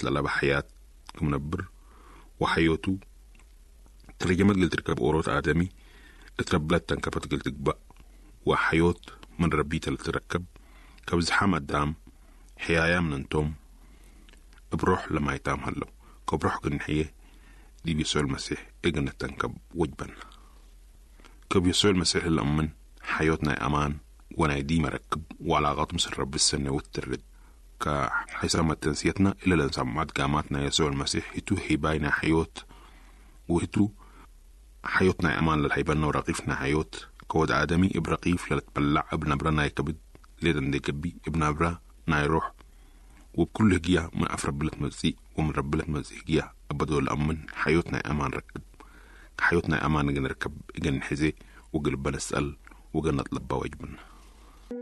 ጠላባ ሕያት ክምነብር ወሓዮቱ ትርጀመት ግል ትርከብ ኦሮት ኣደሚ እትረብለት ተንከፈት ግል ትግባእ ወሓዮት ምን ረቢ ተልትረከብ ከብዝሓም ኣዳም ሕያያም ነንቶም እብሮሕ ለማይታም ሃለው ከብሮሕ ግንሕየ ዲብ የሱዕ መሲሕ እግነተንከብ ወጅበና። ከብ የሱዕ መሲሕ ለእምን ሓዮት ናይ ኣማን ወናይ ዲ መረክብ ዋላቃት ምስ ረቢ ዝሰነውት ትርድ ከሓይሳ መተንስየትና ኢለለን ሳማት ጋማት ናይ የሱዕ መሲሕ ህቱ ሂባይ ናይ ሓዮት ወህቱ ሓዮት ናይ ኣማን ለልሃይበና ወረቂፍ ናይ ሓዮት ከወድ ኣደሚ እብ ረቂፍ ለልትበላዕ እብ ነብረ ናይ ከብድ ሌደ እንደ ገቢ እብ ነብረ ናይ ሮሕ ወብኩሉ ህግያ ምን ኣፍ ረብለት መጽእ ወምን ረብለት መጽእ ህግያ ኣበዶ ለኣምን ሓዮት ናይ ኣማን ረክብ ከሓዮት ናይ ኣማን እግን ርከብ እግን ሕዜ ወግልበ ነስአል ወገን ነጥለባ ወጅብና።